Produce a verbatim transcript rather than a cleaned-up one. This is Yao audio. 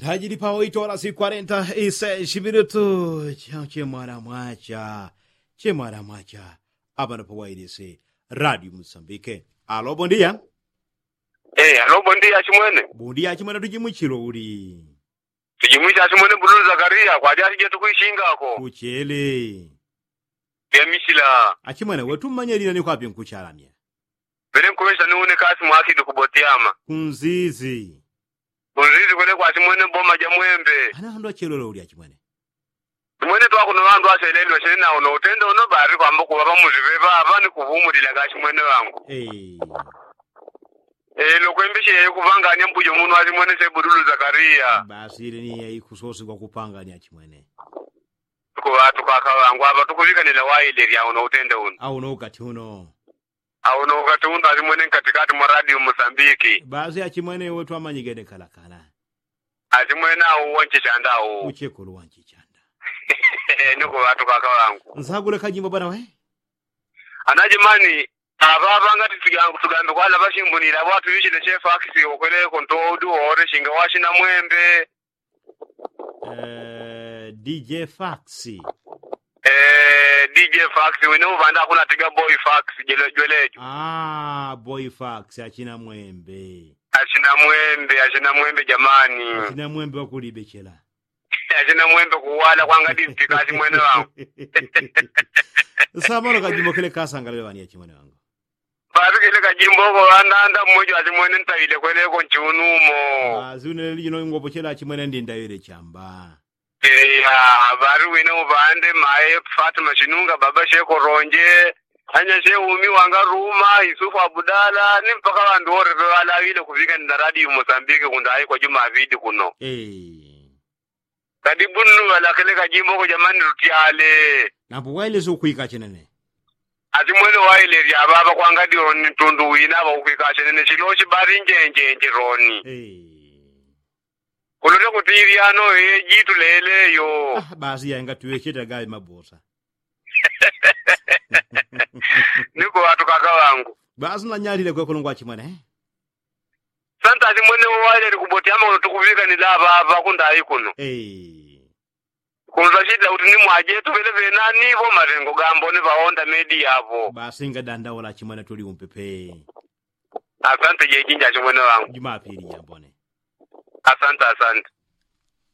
Ndajili pawaitola si kwarenta ise shimilutu. Chemwana mwacha. Chemwana mwacha. Apano pawailise radio musambike. Alo bondia. Alo bondia chimwene. Bondia chimwene tujimwichilo uli. Tujimwicha chimwene bululu zakaria kwadi asije tukwishingako kuchele. Yamisila. Achimwene wetu mmanyelila ni kwapi nkuchalamya? Pele nkuŵesha ni une kasi mwakidi kubotiama. Kunzizi. Kunzizi kwele kwachimwene boma ja mwembe. Ana handu achelole uli achimwene? Chimwene twakuno ŵandu aselelwa chene nawo no utende uno bari kwamba kuŵa pamuzi pepa apa ni kupumulila kachimwene ŵangu. Elo kwembeshe yayo kupangania mbujo muno achimwene sebudulu zakaria. Basi ile ni yaikusosigwa kupangania achimwene. Kuŵatu kaka ŵangu apa tukuŵikanila waile lya uno utende uno. Au no ukati uno. Au no ukati uno achimwene nkatikati mwa radio musambiki. Basi achimwene iwe twamanyigene kalakala. Achimwene au wanchichanda au uchekulu wanchichanda. Nikuŵatu kaka ŵangu nsagule kajimbo bwana we. Anajimani. Apapa ngati tugambe kwala ŵashimbunila ŵatu ŵichile chefax. Ukweleko ntoudi wore shinga wachina mwembe. Dj fax. Dj fax wine uŵanda akunatiga boy fax. Jwelejo. Boy fax achina mwembe. Achina mwembe achina mwembe jamani. Achina mwembe wakulibechela. Achina mwembe kuwala kwanga district achimwene ŵangu. Samano kajimbo kele kasangalile ŵani achimwene ŵangu. Basi kele kajimbo ko ŵandanda mmoja achimwene ntaile kweleko nchiunumo. Basi une leliji no ngopochela achimwene ndindaile chamba. Eya. Basi wine uŵande mae fatima chinunga baba sheko ronje. Anyashe umi wanga ruma isufu abudala ni mpaka ŵandu wore peŵalawile kuŵikanila radio musambiki kundaikwa juma aŵidi kuno. Kadi bunu ŵalakile kajimbo ko jamani lutyale. Nambo wailesi ukwika chenene. Ati mwene wailesi aŵaŵa kwanga dioni ntundu wina aŵa ukwika chenene chilochi bari njenjenje roni. Kulule kuti ivyano ye jitu leleyo. Basi yainga tuwecheta gawe mabosa. Nikuŵatu kaka ŵangu. Basi nanyalile kwekulungwa chimwene. Santa ati mwene uwaile likubotiama uno tukuŵikanila aŵaŵa kundai kuno. Kunzachitila kuti ni mwajetu ŵele ŵenani ŵo maŵengo gambone ŵaonda medi yaŵo. Basi ngadandaula chimwene tuli umpepe. Asante jejinja chimwene ŵangu jumapili jambone. Asante asante.